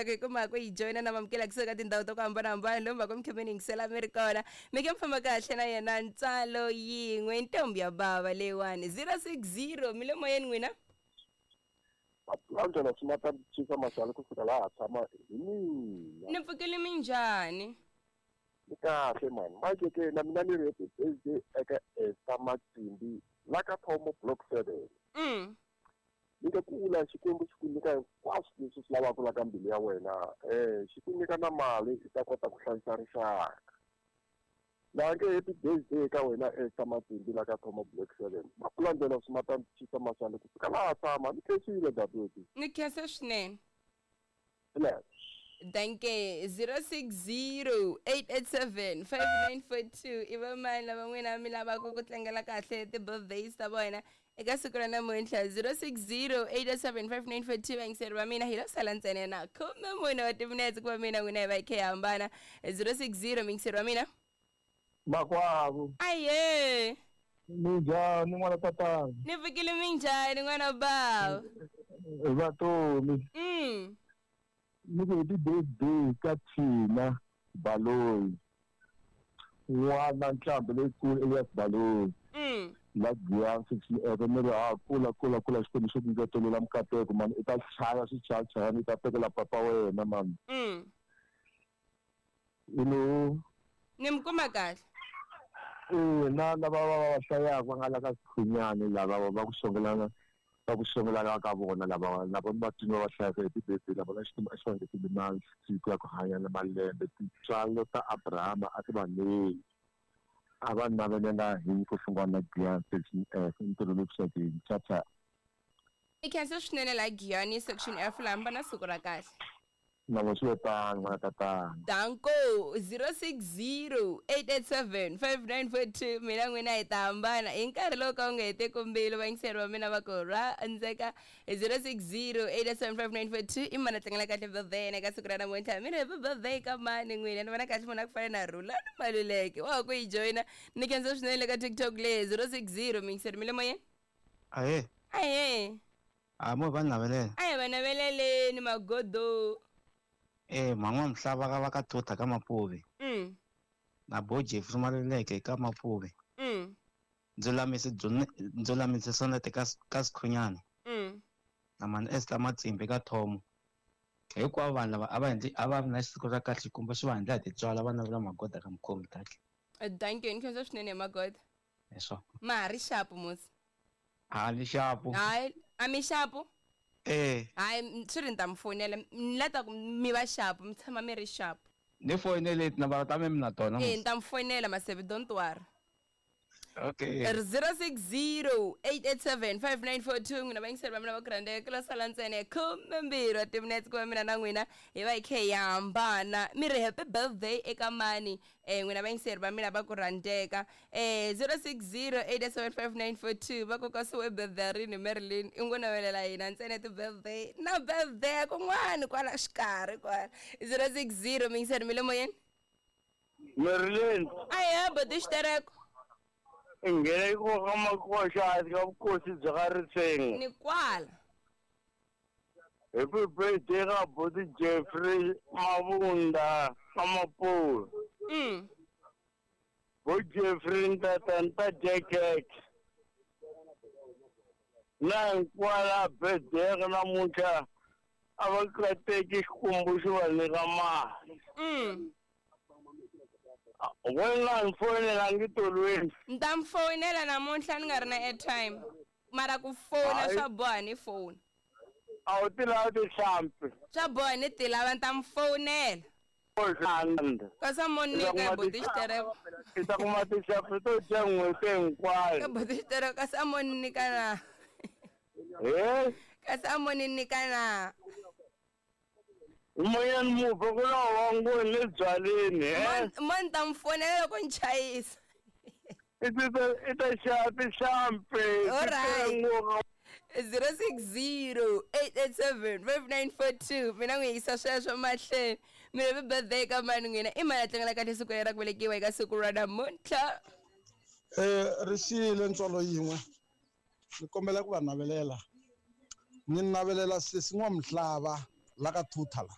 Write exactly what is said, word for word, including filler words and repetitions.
loko hi kuma ku yi joyina na mamukela kusuka tindhawu ta ku hambanahambana lomu va ku mi kha mi ni yingisela mi ri kona mi ke mi famba kahle na yena ntsalo yin'we ntombi ya bava leyiwani zero six zero mi le moyeni n'wina Angela Sumata Chifa Mashalo kusuka laha tshama hi mina ni pfukile minjhani ni kahle mani manje ke na mina ni ri happy birthday eka Esther Matsimbi la ka Thomo block seven mm ni nga kula Xikwembu xi ku nyika hinkwaswo leswi swi lavaka la ka mbilu ya wena eh xi ku nyika na mali i ta kota ku hlayisa rixaka laha nge happy birthday eka wena Esther Matsimbi la ka Thomo block seven Mapulandela Sumata Chifa Mashalo kusuka laha tshama ni khensile dadewethu ni khensa swinene Relax. Danke zero six zero eight eight seven five nine four two i va mani lava n'wina mi lavaka ku tlangela kahle ti-birthdays ta vona eka siku ra namuntlha zero six zero eight eight seven five nine four two vayingiseri va mina hi lo sala ntsena na khume mune wa timinetse ku va mina n'wina hi va hi kha hi hambana zero six zero muyingiseri wa mina makwavo aye minjhani n'wana tatana ni fikile minjhani n'wana bava vatomi mm ni ku happy birthday ka Thina Baloyi n'wana ntlhambi leyikulu Elias Baloyi mm la Giyani sixty eight ni ri ha kula kula kula Xikwembu xi ku ngetelela mikateko mani i ta chaya swichayachayani i ta tekela papa wena mani mm you know ni mi kuma kahle eh na lava va va hlayaka va nga la ka Sikhunyani lava va ku xongelana va ku xongelana ka vona lava lava va twini va hlayaka happy birthday lava na Xikwembu a xi va ngetele masiku ya ku hanya na malembe tintswalo ta Abrahama a ti va neli a va navelela hi ku hlungwana na Giyani section F ntirho lowu kuxakeni chacha i khensa swinene la Giyani section F lamba na siku ra kahle na vo swi tano n'wana tatana danko zero six zero eight eight seven five nine four two mina n'wina hi ta hambana hi nkarhi lowu ka wu nga heteki mbilu vayingiseri va mina va ku rhandzeka zero six zero eight eight seven five nine four two i mani a tlangela kahle birthday eka siku ra namuntlha mina happy birthday ka mani n'wina ni vona kahle munhu a ku fana na Rhulani Maluleke wa ha ku yi joyina ni khensa swinene le ka TikTok le zero six zero muyingiseri mi le moyeni Ahee, ahe a mo va navelela. a hi va naveleleni magodo Eh, man'wa mhlava ka va ka Thutha ka Mapuve mm na bo Jeffrey Maluleke ka Mapuve. mm Ndzulamise Ndzulamise Sonete ka ka Sikhunyani mm na mani Esther Matsimbi ka Thomo. Hinkwavo vanhu lava a va endli a va ri na siku ra kahle kumbe swi va endla hi tintswalo va navela magoda ka mukhomi kahle. thank you ni khensa swinene hi magoda Hi swona. ma ha ri xapu musi A ni xapu. hayi a mi xapu Eh, hayi swi ri ni ta mi fonela ni la ta ku mi va xapu mi tshama mi ri xapu ni foyinele tinambara ta mina mi na tona. e ni ta mi fonela maseve don't worry Okay. zero six zero eight eight seven five nine four two n'wina vayingiseri va mina va ku rhandzeka ku lo sala ntsena khume mbirhi wa timinetse ku va mina na n'wina hi va hi kha hi hambana mi ri happy birthday eka mani um n'wina vayingiseri va mina va ku rhandzeka um zero six zero eight eight seven five nine four two va ku kasi we birthday rini Marilyn i ngo navelela hina ntsena ti-birthday na birthday kun'wani kwala xikarhi kwala zero six zero miyingiseri mi le moyeni Marilyn ahe boti xitereko i nghena ko ka makoxa ka vukosi bya ka Ritseng ni kwala happy birthday ka buti Jeffrey Mabunda ka Mapuve mm bo Jeffrey ntata nta Jacket na hinkwala birthday ka namuntlha a va kateki Xikwembu xi va nyika mali mm wena ni foyinela ngi tolweni ni ta mi fonela namuntlha ni nga ri na airtime mara ku fona Hayi. swa boha ni foni a wu ti lavi tihlampfi swa boha ni ti lava ni ta mi fonela kasi a mo nyika buti xitereko i ta kuma tihlampfi to dya n'hweti ka hinkwayo buti xitereko kasi a mo ni nyika na he kasi a mo ni nyika na moyeni mufe ku na wa ngoni le byaleni he Mo- mo ni ta mi fonela loko ni chayisa i ti i ta xava tihlampfi Alright. zero six zero eight eight seven five nine four two mina n'wi yisa sweswo mahlweni mina happy birthday ka mani n'wina i mani a tlangela kahle siku leri ra ku velekiwa eka siku ra namuntlha Eh ri xile ntswalo yin'we ni kombela ku va navelela ni navelela sesi n'wamihlava la ka Thutha la